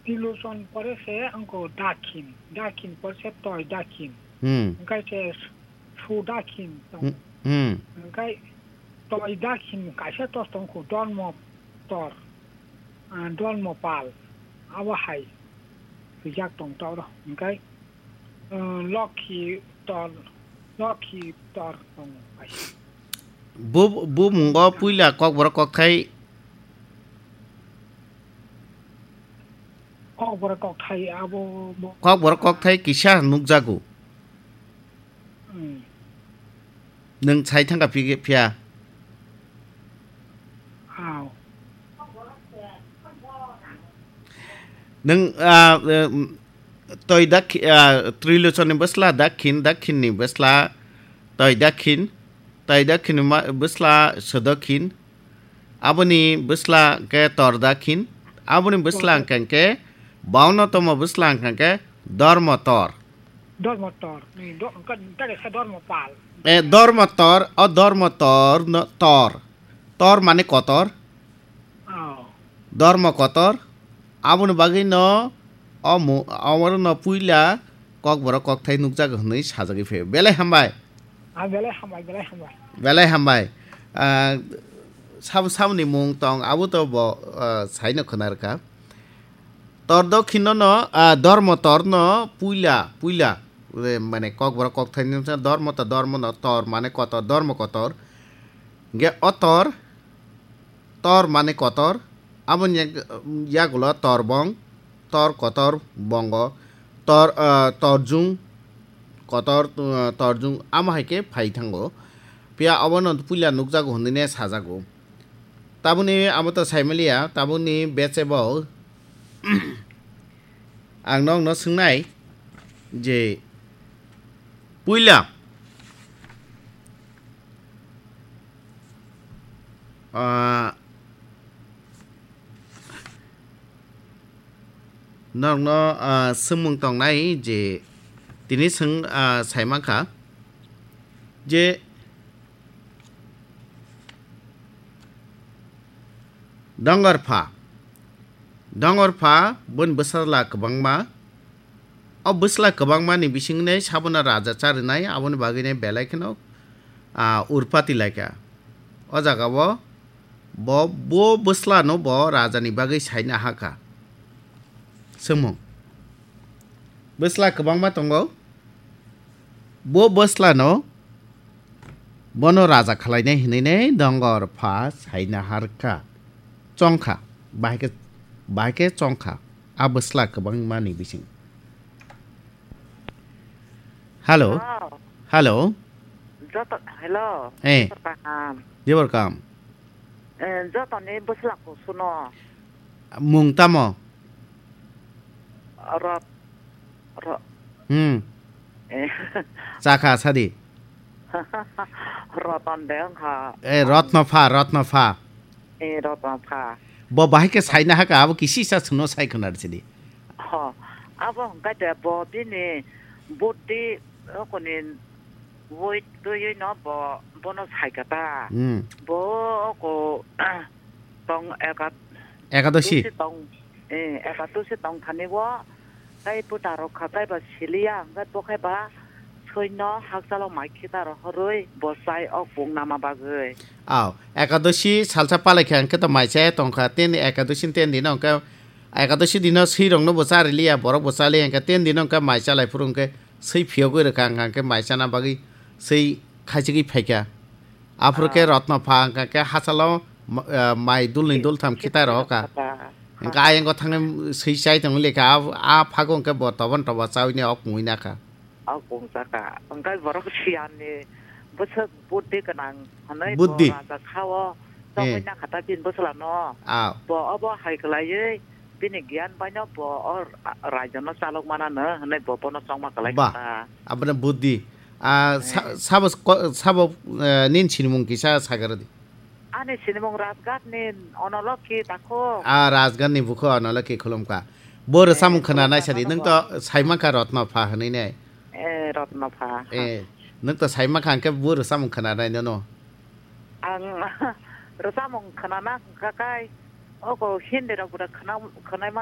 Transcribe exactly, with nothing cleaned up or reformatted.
Trilochan pore se wngkha Dakhin, Dakhin pore se Toi Dakhin. Hmm. Hwnkhe se Su Dakhin tong. Hmm. Hmm. Hwnkhe Toi Dakhin kaisa tos tongkho Dormo Tor, ah, Dormo Pal. Abo hai swijak tong toro. Hwnkhe, ah, Lokhi Tor, Lokhi Tor tong kaisa. Bu, bu mungo puila Kokborok kokthai Kokborok kokthai abo bo. Kokborok kokthai kisa nukjago. Hmm. Nwng sai thangkha phi-, phiya. Aw. Nwng, ah, em, Toi Dakhi-, ah, Trilochanni bwsla Dakhin, Dakhinni bwsla Toi Dakhin, Toi Dakhinni ma-, bwsla Sodokhin, Aboni bwsla hwnkhe Tor Dakhin, aboni bwsla hwnkhe, hwnkhe baunno tongmo bwsla hwnkhe Dormo Tor. Dormo Tor, ni do-, hwnkhe, hwnkhe khe Dormo Pal. E, Dormo Tor, o Dormo Tor no, Tor. Tor mane kotor. Oh. Dormo kotor. Aboni bagwi no o mu-, omo no puila Kokborok kokthai nukjago hwnwi sajagwi phaio. Belai hambai. Ah, belai hambai, belai hambai. Belai hambai. Ah, sabo, saboni mung tong, abo to bo, ah, saino khwnarwkha. Tor Dokhino no, ah, Dormo Tor no puila, puila, eh, mane Kokborok kokthai ni dormo to dormo no tor mane kotor, dormo kotor. Ge o tor, Tor mane kotor, aboni yak-, yagulo torbong, tor kotor bongo, tor, ah, torjung, kotor, ah, torjung, amo hai khe phai thango. Phiya obono puila nukjago hwnwi ne sajago. Tabukni amo to saimaliya, tabukni bechebo ang nokno swngnai je puila Ah, norokno, ah, swngmung tongnai je tini swng, ah, saimankha je Dongor pha, dongor pha boni bwsala kwbangma. O bwsla kwbangma ni bisingni sabono raja charinai, aboni bagwino belai kheno, ah, urpati laikha. O jagao bo, bo bwslano bo rajani bagwi saina hakha. Swngmung. Bwsla kwbangma tongo. Bo bwslano bono raja khwlainai hwnwi dongor pha saina harkha. Chongkha. Bahai khe, bahai khe chongkha. A bwsla kwbangma ni bising. Hello. Hello. Hello. Joto, hello. Eh. Joto kaham. Jebor kam. Eh, joto ni bwsla kusuno. Mung tamo? Rot-, ro-, Hmm. Eh. Chakha sadi. Roton de wngkha. Eh, Rotno pha, Rotno pha. Eh, Rotno pha. Bo bahai khe saina hakha, abo kisi sa sungno sai khwna sidi. Ho, abo hwnkhe de bo bini buddhi okoni woi twiwi no bo, bono saikha ta. Hmm. Bo oko tong eka-, Ekadoshi. Tusi tong, eh, ekadoshi tong thani o, tai puta rok kha, tai ba siliya, hwnkhe bo khai ba soino hakchalo mai khita rohorwi bo chai o kung nama bagwi. Aw, ekadoshi salsa palai khe hwnkhe to mai chaya tong kha, teni ekadoshi ni ten dino hwnkhe, ekadoshi dino swi rokno bo chariliya, borok bo chaliya hwnkhe, ten dino hwnkhe mai chalai phuru hwnkhe swi phiyogwi rwkha, hwnkhe mai chana bagwi swi khaichigwi phaikha. Aphuru khe Ah. Rotno pha hwnkha khe hachalo ma-, ah, mai dulni dultham khitai rohor kha. Khitai rohor kha. Hwnkhe ayang o thangwi swi chai tongwi lekha, a, a phago hwnkhe bo toban toba chawi ne ok mui nakha. Ok mung chakha. Hwnkhe borok siyan ni bwswk buddhi gwnang hwnwi bo Buddhi. Raja kha o chongwi Eh. Nakha ta bini bwsla no. Ah. Bo obo hai kwlaiwi bini giyan bai no bo o ra-, raijano chalok mana no hwnwi bo bono chongma kwlai Ba, kha ta. Aboni buddhi. Ah, sa-, Eh. Sabo ko-, sabo, eh, nini sinimung kisa sagaradi. Ani sinimung Rajghat ni Onolokhi Dakhuk. Ah, Rajghat ni bukho Onolokhi khulumkha. Bo Eh, rwchapmung khwna khulumkha naisadi, nwng to saimangkha Rotno pha hwnwi ne. Eh, Rotno pha. Eh, nwng to saimangkha hwnkhe bo rwchapmung khwna nai nono. Ang rwchapmung khwna na hwnkha kai. Oko Hindi rok bwrwi khwna, khwnai man